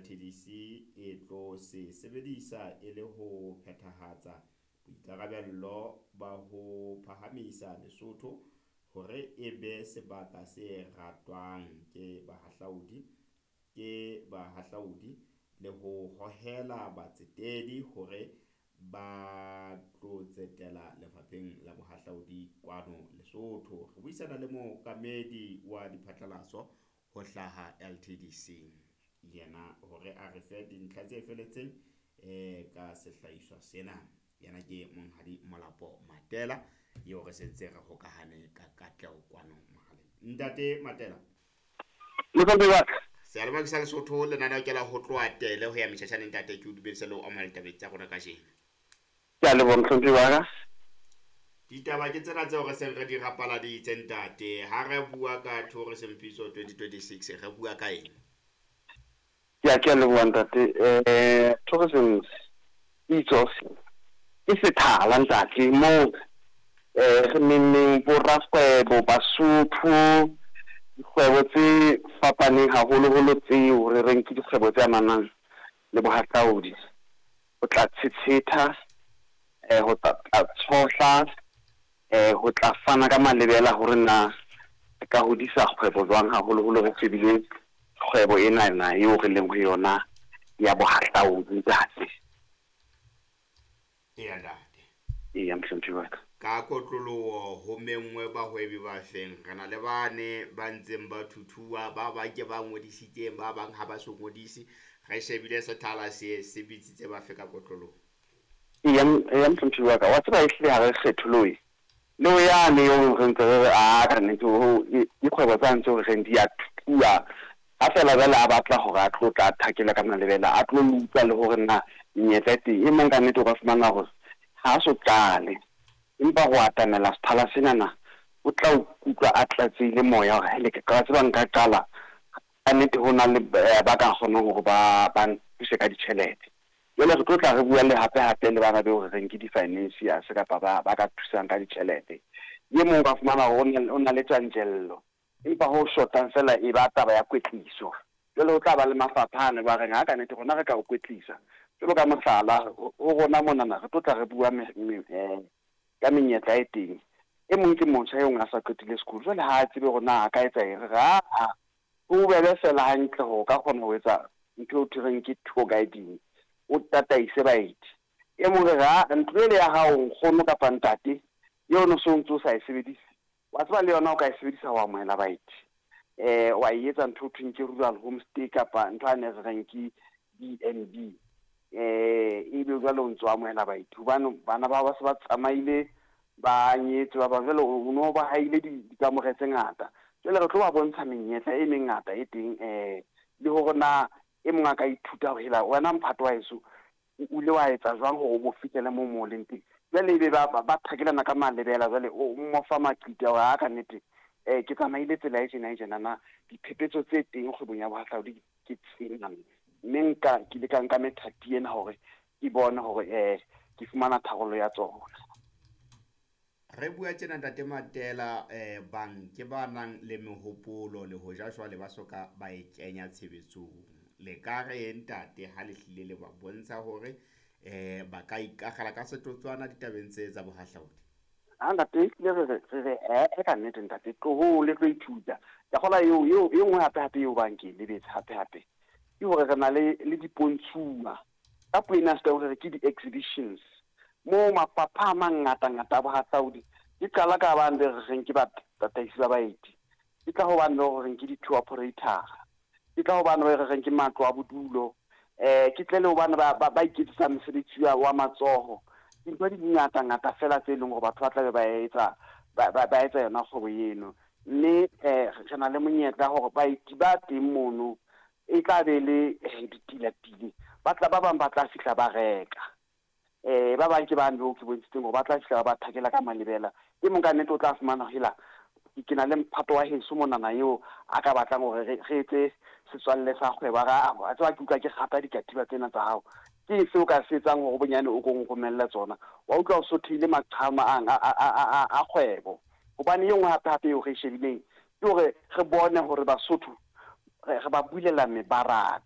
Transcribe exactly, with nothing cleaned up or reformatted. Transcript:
L T D C e tlo se sebedisa e le ho phethahatsa boikarabello ba ho phahamisa Lesotho hore e be sebaka se ratwang ke bahahlaodi ke bahahlaodi le ho hohela batsetedi hore ba tlo tsetela lefapheng la bohahlaodi kwano Lesotho. Re buisana le mookamedi wa diphatlalatso ho hlaha L T D C yena hore a re fe dintlha tse feletseng eh ka sehlahiswa sena. Yena ke Monghadi Molapo Matela eo re sentse re hokahane ka katleho kwano mohaleng. Ntate Matela. Motswadi wa ka. Seyalemoya ke sa Lesotho, lenaneo ke la Ho Tloha Tele ho ya Metjhatjhaneng. Ntate, ke o dumedise le ho amohela ditabeng tsa rona kajeno. Ke a leboha, mohlomphehi wa ka. Ditaba ke tsena tseo re seng re di rapaladitse, ntate. Ha re bua ka Tourism Pitso twenty twenty-six, re bua ka eng? Ke a ke a leboha, ntate. eh tourism Pitso ke sethala, ntate, moo eh re nenneng bo rakgwebo Basotho, dikgwebo tse fapaneng, haholoholo tseo re reng ke dikgwebo tse amanang le bohahlaodi, ho tla tshetshetha, eh ho tla tshohla, eh ho tla fana ka malebela hore na re ka hodisa kgwebo jwang, haholoholo re shebile kgwebo ena na eo re leng ho yona ya bohahlaodi, ntate. Eya, ntate. Eya, mohlomphehi wa ka. Ka kotloloho ho menngwe bahwebi ba feng? Re na le bane ba ntseng ba thuthuwa, ba bang ke ba ngodisitseng, ba bang ha ba so ngodise. Re shebile sethala se se bitsitse ba fe ka kotloloho? Eya, eya, mohlomphehi wa ka. Wa tseba, ehlile ha re kgetholohe le ho yane eo re ntse re re a ka nnete dikgwebo tsane tseo re reng di a thuthuwa, ha feela jwale a batla hore a tlo tla thakela ka malebela, a tlo utlwa le hore na menyetla e teng. E mong ka nnete o ka fumana hore ha a so qale, empa ho atamela sethala senana o tla utlwa a tlatsehile moya hore hele, ka tseba nka qala ka nnete, ho na le ba ka kgonang hore ba ba nthuse ka ditjhelete. Jwale re tlo tla re bua le hape hape le bana beo re reng ke di-financiers kapa ba ba ka thusang ka ditjhelete. E mong o ka fumana hore o na le tjantjello, empa ho shotang fela e ba taba ya kwetliso. Jwale ho tla ba le mafapha ane ba reng ha ka nnete rona re ka o kwetlisa. Jwalo ka mohlala, ho rona monana re tlo tla re bua ka menyetla e teng. E mong ke motjha e mong a sa qetile sekolo, jwale ha a tsebe hore na a ka etsa eng. Re re aa, ho bobebe fela hantle hore o ka kgona ho etsa ntho eo thoreng ke tour guiding, o tataise baeti. E mong re re aa, ntlo ele ya hao, nkgono kapa ntate, eo no so ntso o sa e sebedise, wa tseba le yona o ka e sebedisa ho amohela baeti, eh wa e etsa ntho eo thweng ke rural homestay kapa ntho ane re reng ke B and B, eh ebe jwale o ntso amohela baeti, hobane bana ba ba se ba tsamaile, ba nyetse ba bang, jwale o no ba haile dikamore tse ngata. Jwale re tlo ba bontsha menyetla e mengata e teng, eh le hore na e mong a ka ithuta hore hela wena mphato wa heso o ile wa etsa jwang hore o bo fihlele moo mo leng teng. Jwale ebe ba ba thakelana ka malebela, jwale o mo fa maqiti a hore ha ka nnete eh ke tsamaile tsela e tjena e tjenana, diphephetso tse teng kgwebong ya bohahlaodi ke tsena, mme nka ke ile ka nka methati ena hore ke bone hore eh ke fumana tharollo ya tsona. Re bua tjena, ntate Matela, eh bang ke ba nang le mehopolo le hoja jwale ba soka ba e kenya tshebetsong, le ka re ntate ha le hlile le ba bontsha hore eh ba ka ikakgela ka setotswana ditabeng tse tsa bohahlaodi? Ha ntate, ehlile re re re re eh ka nnete, ntate, tlohong le tlo ithuta. Ke kgola eo eo e nngwe hape hape eo bang ke lebetse hape hape ke hore re na le le dipontshuwa, ka puo ena se re ke di-exhibitions, moo mafapha a mangata ngata a bohahlaodi. Ke qala ka bane be re reng ke batataisi ba baeti, ke tla ho bane be re reng ke di-tour operator, ke tla ho bane be re reng ke matlo a bodulo, eh ke tle le ho bane ba ba iketsetsang mosebetsi wa matsoho. Dintho di ngata ngata fela tse leng hore batho ba tla be ba etsa ba ba etsa yona kgwebo eno, mme eh re na le monyetla hore baeti ba teng mono e tla be le ditilatile, ba tla ba bang ba tla fihla ba reka, eh ba bang ke bane beo ke bontshitseng hore ba tla fihla ba ba thakela ka malebela. E mong ka nnete o tla fumana hela ke na le mphato wa heso monana eo a ka batlang hore re etse setswalle sa kgwebo, a a tseba ke utlwa ke rata dikatiba tsena tsa hao, ke eng seo ka se etsang hore bonyane o ko nromelle tsona? Wa utlwa o sothehile maqhama a a a kgwebo. Hobane e nngwe hape hape eo re e shebileng ke hore re bone hore Basotho re ba bulela mebaraka.